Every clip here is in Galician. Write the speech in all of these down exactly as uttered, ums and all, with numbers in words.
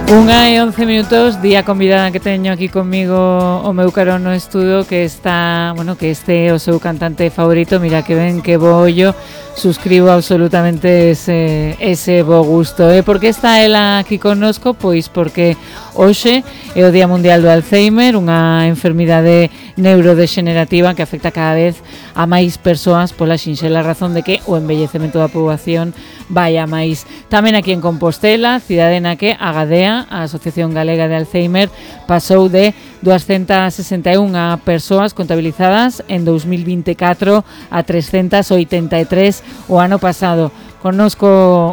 Unha e once minutos, día convidada que teño aquí comigo o meu carón no estudo, que está, bueno, que este é o seu cantante favorito. Mira que ben, que bo ollo, suscribo absolutamente ese, ese bo gusto. E por que está ela aquí connosco? Pois porque hoxe é o Día Mundial do Alzheimer, unha enfermidade neurodexenerativa que afecta cada vez a máis persoas pola sinxela razón de que o envellecemento da poboación vai a máis. Tamén aquí en Compostela, cidade na que a Gadea, a Asociación Galega de Alzheimer, pasou de doscientas sesenta e unha persoas contabilizadas en dos mil vinte e catro a trescentas oitenta e tres o ano pasado. Connosco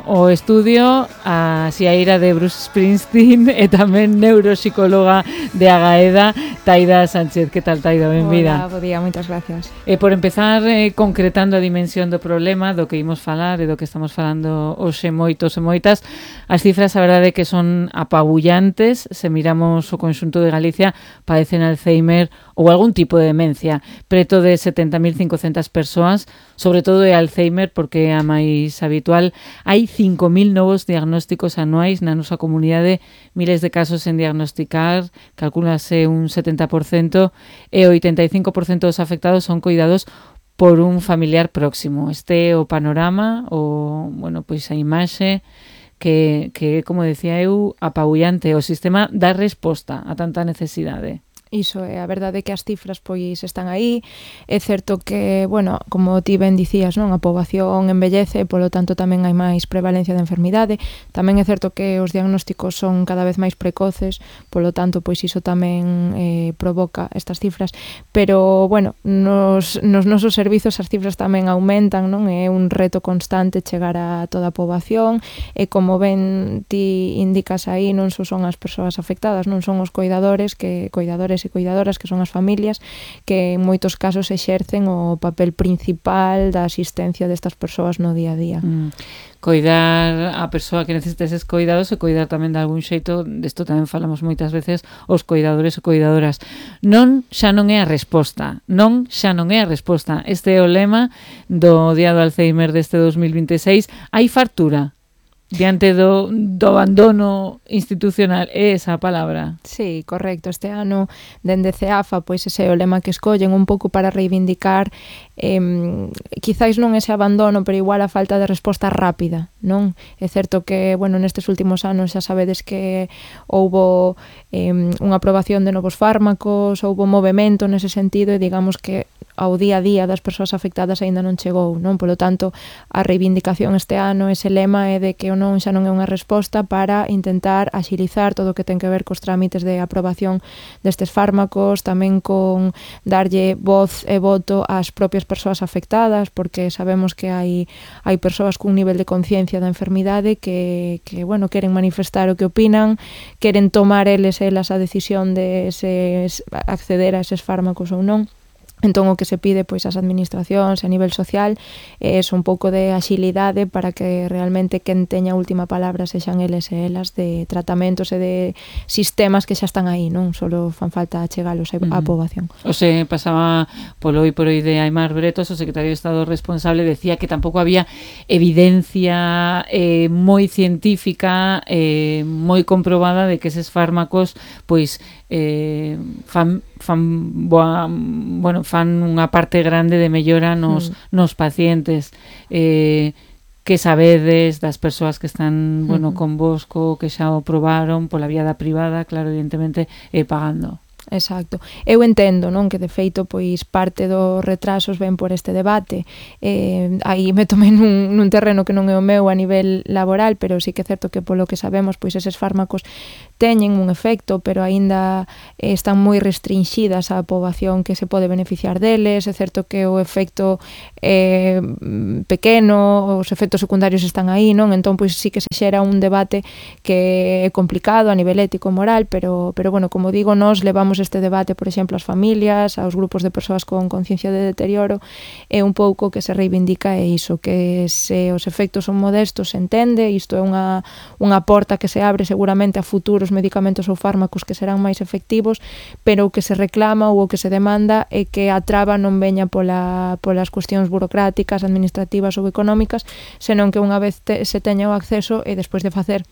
o estudio a Xiaira de Bruce Springsteen e tamén neuropsicóloga de Agaeda, Taida Sánchez. Que tal, Taida? Benvida. Hola, bo día, moitas gracias. E por empezar, eh, concretando a dimensión do problema do que imos falar e do que estamos falando hoxe moitos e moitas, as cifras a verdade é que son apabullantes. Se miramos o conxunto de Galicia, padecen Alzheimer ou algún tipo de demencia. Preto de setenta mil cincocentas persoas, sobre todo de Alzheimer porque é a máis habitual. Hai cinco mil novos diagnósticos anuais na nosa comunidade, miles de casos en diagnosticar, calculase un setenta por cento, e o oitenta e cinco por cento dos afectados son coidados por un familiar próximo. Este é o panorama, o, bueno, pois a imaxe que, que, como decía eu, apabullante. O sistema dá resposta a tanta necesidade. Iso é, a verdade é que as cifras pois están aí. É certo que, bueno, como ti ben dicías, non, a poboación envellece, polo tanto tamén hai máis prevalencia de enfermidade. Tamén é certo que os diagnósticos son cada vez máis precoces, polo tanto pois iso tamén eh, provoca estas cifras. Pero, bueno, nos, nos nosos servizos as cifras tamén aumentan, non? É un reto constante chegar a toda a poboación e, como ben ti indicas aí, non só son as persoas afectadas, non son os coidadores, que coidadores e coidadoras, que son as familias, que en moitos casos exercen o papel principal da asistencia destas persoas no día a día. Mm. Coidar a persoa que necesita eses coidados e coidar tamén de algún xeito, desto tamén falamos moitas veces, os coidadores e coidadoras. Non xa non é a resposta, non xa non é a resposta. Este é o lema do Día do Alzheimer deste dos mil vinte e seis. Hai fartura diante do, do abandono institucional, é esa a palabra. Sí, correcto. Este ano, dende CEAFA, pois ese é o lema que escollen un pouco para reivindicar eh, quizáis non ese abandono, pero igual a falta de resposta rápida, non? É certo que, bueno, nestes últimos anos xa sabedes que houbo eh, unha aprobación de novos fármacos, houbo movimento nese sentido e digamos que ao día a día das persoas afectadas aínda non chegou, non? Polo tanto, a reivindicación este ano, ese lema é de que o non xa non é unha resposta para intentar axilizar todo o que ten que ver cos trámites de aprobación destes fármacos, tamén con darlle voz e voto ás propias persoas afectadas, porque sabemos que hai hai persoas cun nivel de conciencia da enfermidade que, que bueno, queren manifestar o que opinan, queren tomar eles elas a decisión de se acceder a eses fármacos ou non. Entón, o que se pide pois ás administracións a nivel social é un pouco de axilidade para que realmente quen teña a última palabra sexan eles e elas de tratamentos e de sistemas que xa están aí, non? Solo fan falta chegalos á uh-huh. poboación. O se pasaba polo hoy por hoy de Aimar Bretos, o secretario de Estado responsable, decía que tampouco había evidencia eh, moi científica, eh, moi comprobada de que eses fármacos pois eh, fan, fan boa, bueno, fan unha parte grande de mellora nos, mm. nos pacientes. Eh, que sabedes das persoas que están, bueno, mm. convosco, que xa o probaron pola vía da privada, claro, evidentemente, eh, pagando. Exacto. Eu entendo, non, que de feito pois parte dos retrasos ven por este debate. Eh, aí me tomei nun, nun terreno que non é o meu a nivel laboral, pero sí que é certo que polo que sabemos, pois eses fármacos teñen un efecto, pero aínda eh, están moi restringidas á poboación que se pode beneficiar deles. É certo que o efecto é eh, pequeno, os efectos secundarios están aí, non? Entón, pois sí que se xera un debate que é complicado a nivel ético e moral, pero, pero bueno, como digo, nós levamos este debate, por exemplo, ás familias, aos grupos de persoas con conciencia de deterioro, é un pouco que se reivindica é iso, que se os efectos son modestos, se entende, isto é unha, unha porta que se abre seguramente a futuros medicamentos ou fármacos que serán máis efectivos, pero o que se reclama ou o que se demanda é que a traba non veña pola, polas cuestións burocráticas, administrativas ou económicas, senón que unha vez te, se teña o acceso e despois de facer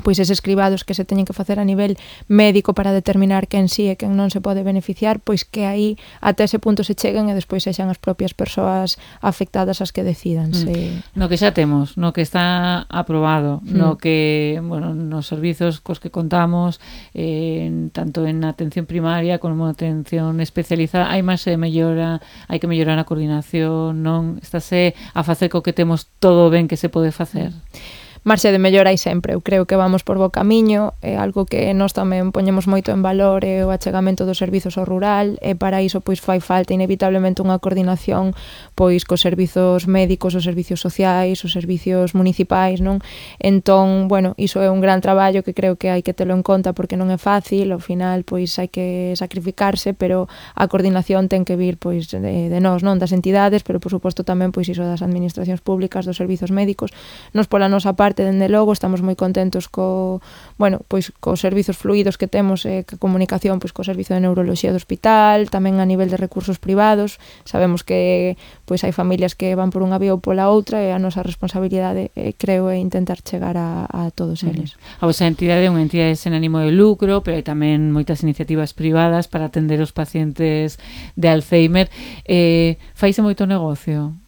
pois eses cribados que se teñen que facer a nivel médico para determinar quen sí e quen non se pode beneficiar, pois que aí até ese punto se cheguen e despois sexan as propias persoas afectadas as que decidan. Mm. Se... No que xa temos, no que está aprobado, mm. no que, bueno, nos servizos cos que contamos, eh, tanto en atención primaria como en atención especializada, hai máis e mellora, hai que mellorar a coordinación, non? Estáse a facer co que temos todo ben que se pode facer. Mm. Marxe de mellora hai sempre, eu creo que vamos por bo camiño, é algo que nós tamén poñemos moito en valor, é o achegamento dos servizos ao rural, e para iso pois fai falta inevitablemente unha coordinación pois cos servizos médicos, os servizos sociais, os servizos municipais, non? Entón, bueno, iso é un gran traballo que creo que hai que telo en conta porque non é fácil, ao final pois hai que sacrificarse, pero a coordinación ten que vir pois de, de nós, non? Das entidades, pero por suposto tamén pois iso das administracións públicas, dos servizos médicos. Nos pola nosa parte, dende logo, estamos moi contentos co, bueno, pois cos servizos fluidos que temos e eh, que comunicación pois co servizo de neuroloxía do hospital, tamén a nivel de recursos privados. Sabemos que pois hai familias que van por unha vía ou pola outra e a nosa responsabilidade, eh, creo, é intentar chegar a, a todos eles. Uh-huh. A vosa entidade é unha entidade sen ánimo de lucro, pero hai tamén moitas iniciativas privadas para atender os pacientes de Alzheimer. Eh, faise moito negocio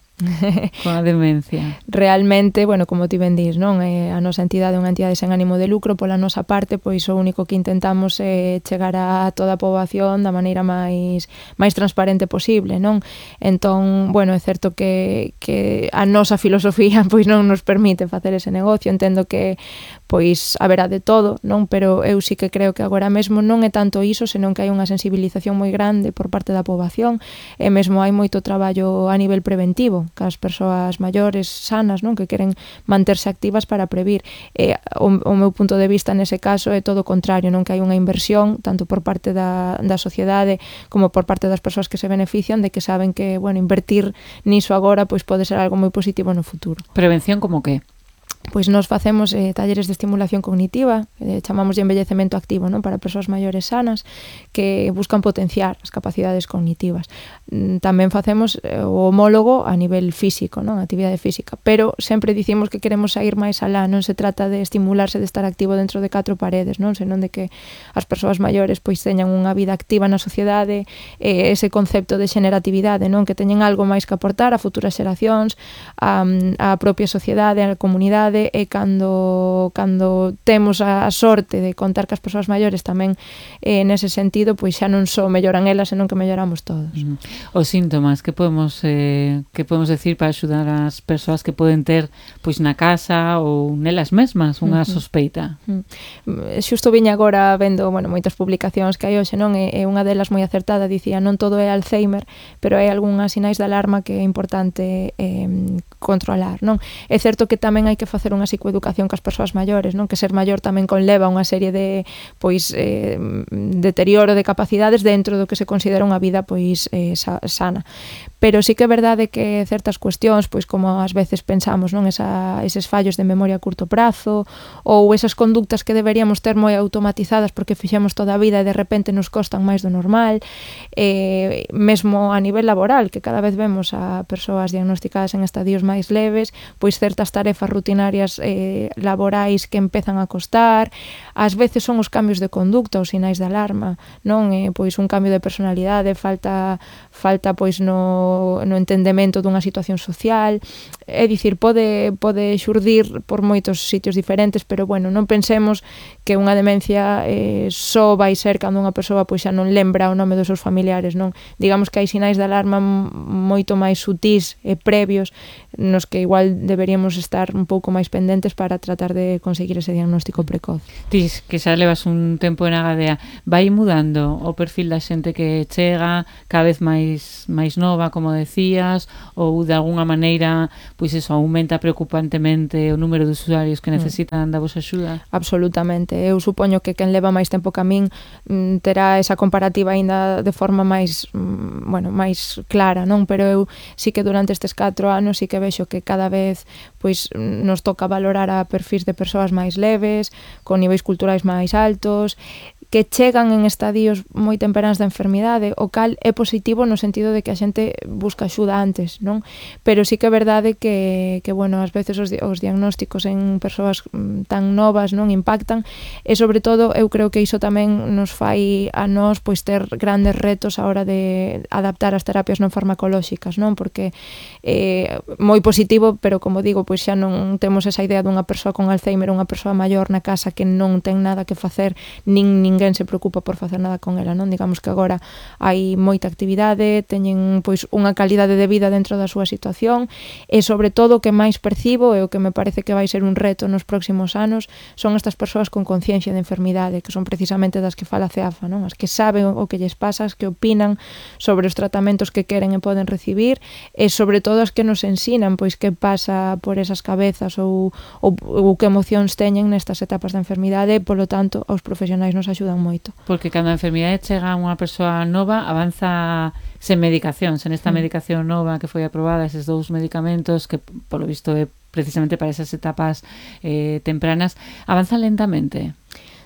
con a demencia. Realmente, bueno, como ti ben dís, non? Eh, a nosa entidade é unha entidade sen ánimo de lucro, pola nosa parte, pois o único que intentamos é chegar a toda a poboación da maneira máis máis transparente posible, non? Entón, bueno, é certo que, que a nosa filosofía pois non nos permite facer ese negocio, entendo que pois haberá de todo, non? Pero eu sí que creo que agora mesmo non é tanto iso, senón que hai unha sensibilización moi grande por parte da poboación e mesmo hai moito traballo a nivel preventivo, que as persoas maiores sanas, non, que queren manterse activas para previr. E o, o meu punto de vista nese caso é todo o contrario, non, que hai unha inversión tanto por parte da, da sociedade como por parte das persoas que se benefician, de que saben que, bueno, invertir niso agora pois pode ser algo moi positivo no futuro. Prevención como que? Pois nos facemos eh, talleres de estimulación cognitiva, eh, chamamos de envellecemento activo, non, para persoas maiores sanas que buscan potenciar as capacidades cognitivas. Tamén facemos eh, o homólogo a nivel físico, non, actividade física, pero sempre dicimos que queremos sair máis alá, non se trata de estimularse de estar activo dentro de catro paredes, non, senón de que as persoas maiores pois teñan unha vida activa na sociedade, eh, ese concepto de xeneratividade, non, que teñen algo máis que aportar a futuras xeracións, a, a propia sociedade, a comunidade, e cando cando temos a sorte de contar que as persoas maiores tamén eh, nese sentido, pois xa non só melloran elas, senón que melloramos todos. Mm. Os síntomas que podemos eh, que podemos decir para axudar as persoas que poden ter pois na casa ou nelas mesmas unha uh-huh. sospeita. Uh-huh. Xusto viña agora vendo, bueno, moitas publicacións que hai hoxe, non, e, e unha delas moi acertada dicía: non todo é Alzheimer, pero hai algunhas sinais de alarma que é importante eh, controlar, non? É certo que tamén hai que facer unha psicoeducación cas persoas maiores, non? Que ser maior tamén conleva unha serie de pois eh, deterioro de capacidades dentro do que se considera unha vida pois eh, sana. Pero sí que é verdade que certas cuestións, pois como ás veces pensamos, non, esa eses fallos de memoria a curto prazo ou esas conductas que deberíamos ter moi automatizadas porque fixemos toda a vida e de repente nos costan máis do normal, eh, mesmo a nivel laboral, que cada vez vemos a persoas diagnosticadas en estadios máis leves, pois certas tarefas rutinarias eh, laborais que empezan a costar, ás veces son os cambios de conducta, os sinais de alarma, non, eh, pois un cambio de personalidade, falta falta pois no, no entendemento dunha situación social, é dicir, pode, pode xurdir por moitos sitios diferentes, pero bueno, non pensemos que unha demencia eh, só vai ser cando unha persoa pois xa non lembra o nome dos seus familiares, non? Digamos que hai sinais de alarma moito máis sutís e previos nos que igual deberíamos estar un pouco máis pendentes para tratar de conseguir ese diagnóstico precoz. Tis, que xa levas un tempo en Agadea, vai mudando o perfil da xente que chega, cada vez máis máis nova, como decías, ou de alguna maneira, pois eso, aumenta preocupantemente o número de usuarios que necesitan da vosa axuda? Absolutamente. Eu supoño que quen leva máis tempo que a min mm, terá esa comparativa aínda de forma máis, mm, bueno, máis clara, non? Pero eu sí que durante estes catro anos sí que vexo que cada vez pois nos toca valorar a perfis de persoas máis leves, con niveis culturais máis altos, que chegan en estadios moi temperáns da enfermidade, o cal é positivo no sentido de que a xente busca axuda antes, non? Pero sí que é verdade que, que bueno, ás veces os, os diagnósticos en persoas tan novas non impactan, e sobre todo eu creo que iso tamén nos fai a nós pois ter grandes retos a hora de adaptar as terapias non farmacolóxicas, non? Porque é eh, moi positivo, pero como digo, pois xa non temos esa idea dunha persoa con Alzheimer, unha persoa maior na casa que non ten nada que facer, nin ninguén se preocupa por facer nada con ela, non? Digamos que agora hai moita actividade, teñen pois unha calidade de vida dentro da súa situación, e sobre todo o que máis percibo e o que me parece que vai ser un reto nos próximos anos son estas persoas con conciencia de enfermidade, que son precisamente das que fala CEAFA, non? As que saben o que lles pasa, as que opinan sobre os tratamentos que queren e poden recibir, e sobre todo as que nos ensinan pois que pasa por esas cabezas ou, ou, ou que emocións teñen nestas etapas da enfermidade, e polo tanto os profesionais nos axudan moito. Porque cando a enfermidade chega a unha persoa nova, avanza sen medicación, sen esta medicación nova que foi aprobada, eses dous medicamentos que polo visto é precisamente para esas etapas eh, tempranas, avanza lentamente.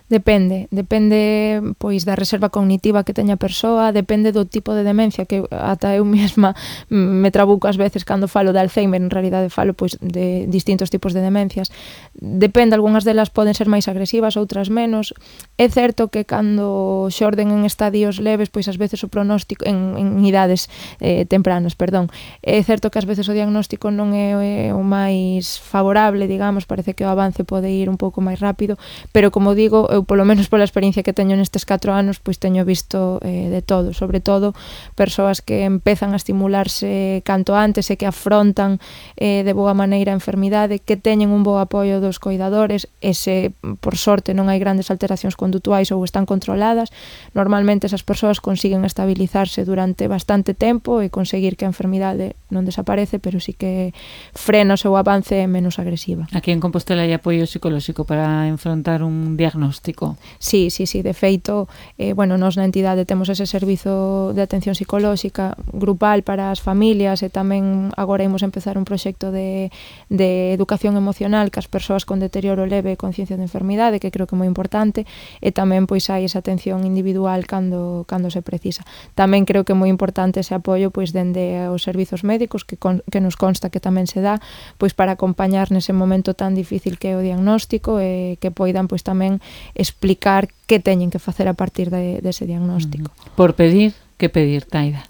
Depende, depende pois da reserva cognitiva que teña a persoa, depende do tipo de demencia, que ata eu mesma me trabuco ás veces cando falo de Alzheimer, en realidade falo pois de distintos tipos de demencias. Depende, algunhas delas poden ser máis agresivas, outras menos. É certo que cando xorden en estadios leves, pois ás veces o pronóstico en, en idades eh, tempranas, perdón. É certo que ás veces o diagnóstico non é o máis favorable, digamos, parece que o avance pode ir un pouco máis rápido, pero como digo, eu polo menos pola experiencia que teño nestes catro anos, pois teño visto eh, de todo, sobre todo persoas que empezan a estimularse canto antes e que afrontan eh, de boa maneira a enfermidade, que teñen un bo apoio dos coidadores, e se por sorte non hai grandes alteracións condutuais ou están controladas, normalmente esas persoas consiguen estabilizarse durante bastante tempo e conseguir que a enfermidade non desaparece, pero sí que frena o seu avance e menos agresiva. Aquí en Compostela hai apoio psicolóxico para enfrontar un diagnóstico. Sí, sí, sí, de feito, eh, bueno, nos na entidade temos ese servizo de atención psicolóxica grupal para as familias, e tamén agora imos empezar un proxecto de, de educación emocional que as persoas con deterioro leve e conciencia de enfermidade, que creo que é moi importante, e tamén pois hai esa atención individual cando, cando se precisa. Tamén creo que é moi importante ese apoio pois dende os servizos médicos, que, con, que nos consta que tamén se dá, pois para acompañar nese momento tan difícil que é o diagnóstico, e que poidan pois tamén explicar que teñen que facer a partir de, dese diagnóstico. Por pedir, que pedir, Taida?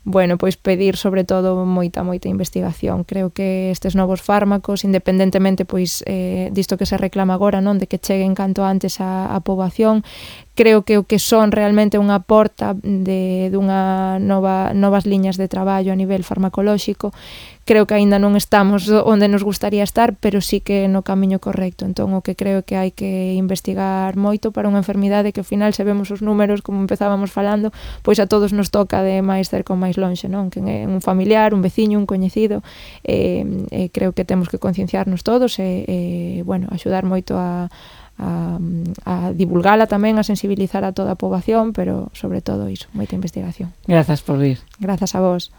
Bueno, pois pedir sobre todo moita, moita investigación. Creo que estes novos fármacos, independentemente pois eh, disto que se reclama agora, non, de que cheguen canto antes á, á poboación, creo que o que son realmente unha porta de dunha nova novas liñas de traballo a nivel farmacolóxico. Creo que aínda non estamos onde nos gustaría estar, pero sí que no camiño correcto. Entón, o que creo que hai que investigar moito para unha enfermidade que ao final, se vemos os números, como empezábamos falando, pois a todos nos toca de máis cerca ou máis lonxe, non? Que é un familiar, un veciño, un coñecido. Eh, eh, creo que temos que concienciarnos todos e, eh, bueno, axudar moito a A, a divulgala tamén, a sensibilizar a toda a poboación, pero sobre todo iso, moita investigación. Grazas por vir. Grazas a vos.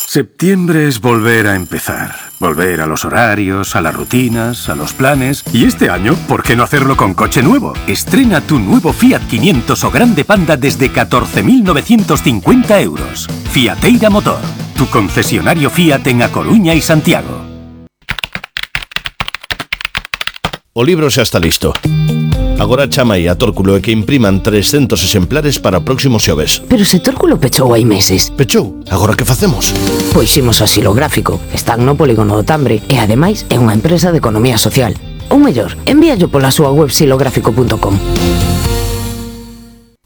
Septiembre es volver a empezar, volver a los horarios, a las rutinas, a los planes. Y este año, ¿por qué no hacerlo con coche nuevo? Estrena tu nuevo Fiat quinientos o Grande Panda desde catorce mil novecientos cincuenta euros. Fiateira Motor, tu concesionario Fiat en A Coruña y Santiago. O libro xa está listo. Agora chama aí a Tórculo e que impriman trescentos exemplares para o próximo xoves. Pero se Tórculo pechou hai meses. Pechou? Agora que facemos? Pois imos a Xilográfico. Están no polígono do Tambre e ademais é unha empresa de economía social. Ou mellor, envíallo pola súa web xilográfico punto com.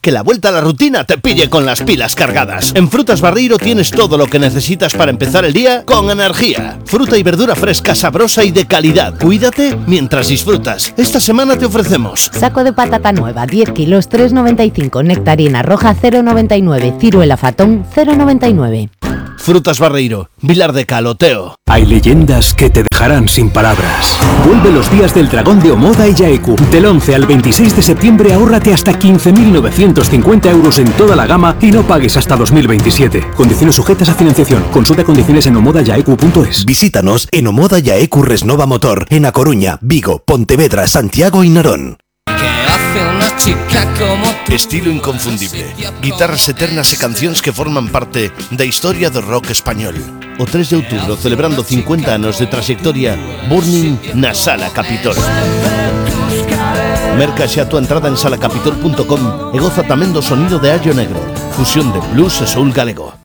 Que la vuelta a la rutina te pille con las pilas cargadas. En Frutas Barreiro tienes todo lo que necesitas para empezar el día con energía. Fruta y verdura fresca, sabrosa y de calidad. Cuídate mientras disfrutas. Esta semana te ofrecemos saco de patata nueva, diez kilos, tres noventa y cinco. Nectarina roja, cero noventa y nueve. Ciruela fatón, cero noventa y nueve. Frutas Barreiro, Vilar de Caloteo. Hay leyendas que te dejarán sin palabras. Vuelve los días del dragón de Omoda y Yaeku. Del once al veintiséis de septiembre ahórrate hasta quince mil novecientos cincuenta euros en toda la gama y no pagues hasta dos mil veintisiete. Condiciones sujetas a financiación. Consulta condiciones en omoda yaeku punto es. Visítanos en Omoda Yaeku Resnova Motor, en A Coruña, Vigo, Pontevedra, Santiago y Narón. Estilo inconfundible, guitarras eternas e cancións que forman parte da historia do rock español. O tres de outubro, celebrando cincuenta anos de trayectoria, Burning na Sala Capitol. Merca xa a túa entrada en sala capitol punto com e goza tamén do sonido de Allo Negro, fusión de blues e soul galego.